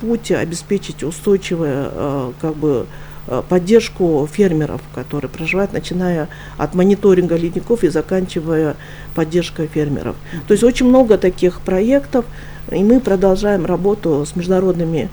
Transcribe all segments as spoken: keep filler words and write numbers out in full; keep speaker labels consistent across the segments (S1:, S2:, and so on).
S1: путь обеспечить устойчивую как бы поддержку фермеров, которые проживают, начиная от мониторинга ледников и заканчивая поддержкой фермеров. Mm-hmm. То есть очень много таких проектов, и мы продолжаем работу с международными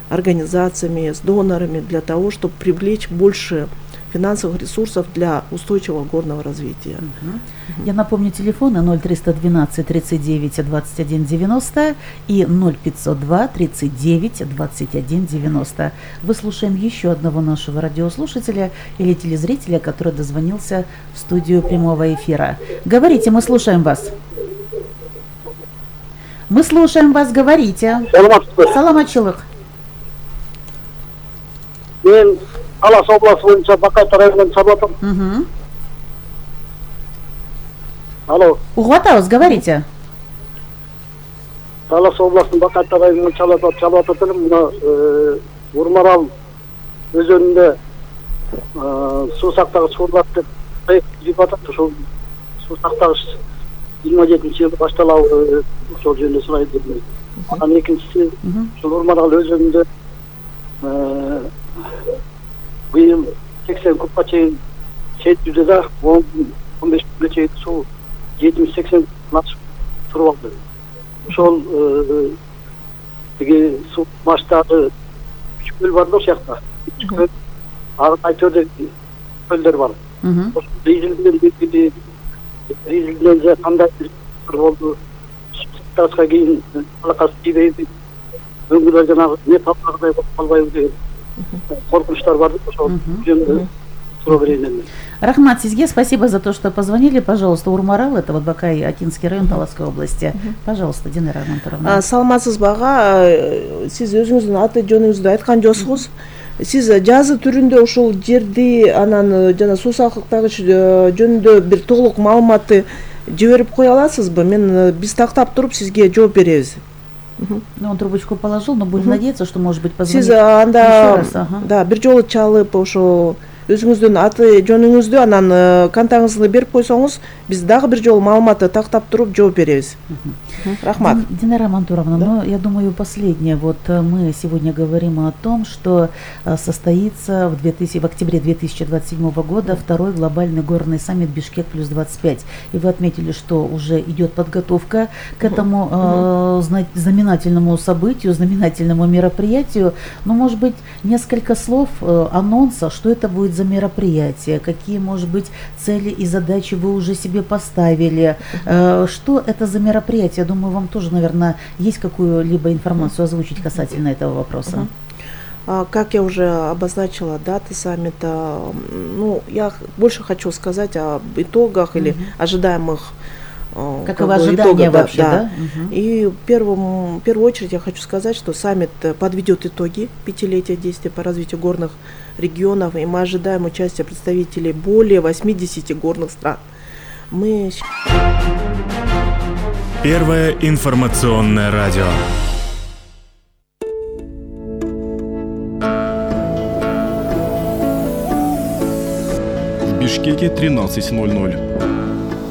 S1: организациями, с донорами для того, чтобы привлечь больше финансовых ресурсов для устойчивого горного развития.
S2: Uh-huh. Uh-huh. Я напомню, телефоны ноль триста двенадцать тридцать девять двадцать один девяносто и ноль пятьсот два тридцать девять двадцать один девяносто. Вы слушаем еще одного нашего радиослушателя или телезрителя, который дозвонился в студию прямого эфира. Говорите, мы слушаем вас. Мы слушаем вас, говорите. Саламатчылык.
S3: Мен Алас области боюнча Бакайт районунан чалып атам. Алло.
S2: Угуп атабыз, говорите.
S3: Алас областынын Бакайт районунан чалып чалып атат элем. Мына Урмарал өзөнүндө суу сактагыч курулат деп проект жүрүп атат. Ошол суу сактагыч жыйырма жетинчи жылы башталабы, ошол жөнүндө сурайт деп. Анан экинчиси ошол Урмарал өзөнүндө быйыл сексен кубка чейин жетүүдө да он беш күнгө чейин суу жетимиш сексен ашып туруп алды. Ошол тиги суу баштагы үч көл бар да ошол жакта. үч көл, ар кайчоодо көлдөр бар. Ошол Ризилден бекиди, Ризилден же кандай бир болду. Ташка кийин алакасы тийбейби. Өңгүлөр жанагы не талкагыдай болуп калбайбы деген коркунучтар бар. Ошол жөнүндө суроо берейин.
S2: Рахмат сизге, спасибо за то, что позвонили. Пожалуйста, Урмарал, это вот Бакай, Акинский район Таласской области. Пожалуйста, Динара Рамантуровна.
S1: Саламатсызбы ага, сиз өзүңүздүн аты жөнүңүздү айткан жоксуз. Сиз жазы түрүндө ушул жерди анан жана суу сактагыч жөнүндө бир толук маалыматты жиберип кое аласызбы? Мен биз тактап туруп сизге жооп беребиз.
S2: Ну, он трубочку положил, но будем надеяться, что, может быть, позвонит
S1: еще анда,
S2: раз. Ага.
S1: Да, бир жолу чалып, ошо өзүңүздүн аты жөнүңүздү анан контактыңызды берип койсоңуз, биз дагы бир жолу маалыматты тактап туруп жооп беребиз. Рахмат.
S2: Динара Рамантуровна, да? Ну, я думаю, последнее. Вот мы сегодня говорим о том, что состоится в, две тысячи, в октябре две тысячи двадцать седьмого года второй глобальный горный саммит Бишкек плюс двадцать пять. И вы отметили, что уже идет подготовка к этому uh-huh. э, знаменательному событию, знаменательному мероприятию. Но, может быть, несколько слов э, анонса, что это будет за мероприятие, какие, может быть, цели и задачи вы уже себе поставили, э, что это за мероприятие? Думаю, вам тоже, наверное, есть какую-либо информацию озвучить касательно этого вопроса.
S1: Uh-huh. Как я уже обозначила даты саммита, ну, я больше хочу сказать об итогах uh-huh. или ожидаемых
S2: как, как бы ожидания итога, вообще, да? да?
S1: Uh-huh. И в, первом, в первую очередь я хочу сказать, что саммит подведет итоги пятилетия действия по развитию горных регионов, и мы ожидаем участия представителей более восьмидесяти горных стран. Мы...
S4: Первое информационное радио.
S5: В Бишкеке тринадцать ноль ноль.